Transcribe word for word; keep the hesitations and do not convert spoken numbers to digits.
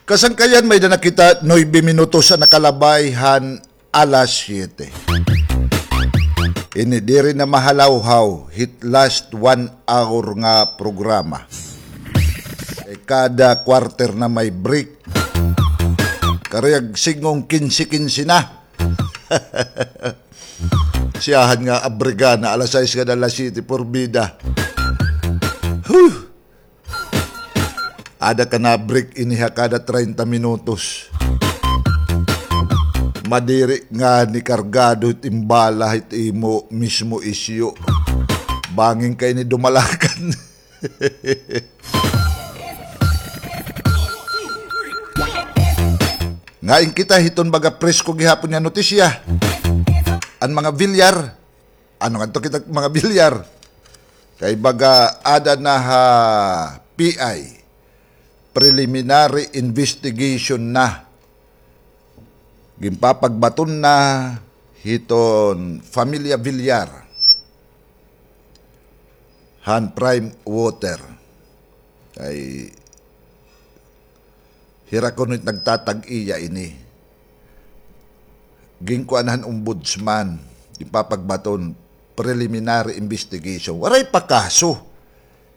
Kasangkayan, may-ada na kita nuebe minutos an nakalabay han alas siyete. Ini diri na mahalawhaw hit last one hour nga programa. Eh, kada quarter na may break. Karuyag sidngon kinse kinse na. Siyahan nga abriga na alas sais ngada alas siyete, porbida. Huh! Ada ka na break ini ha kada treinta minutos. Madiri ngani kargado it im bala hit imo mismo isyu. Bangin ka ini dumalakan. Ngain kita hiton baga presko gihapon nga notisya. An mga Villar, ano ngadto kita mga Villar? Kay baga ada na ha P I, preliminary investigation na. Ginpapagbaton na hiton Familia Villar han Prime Water. Kay hira kuno it nagtatag-iya ini. Ginkuan han ombudsman, ginpapagbaton, preliminary investigation. Waray pa kaso.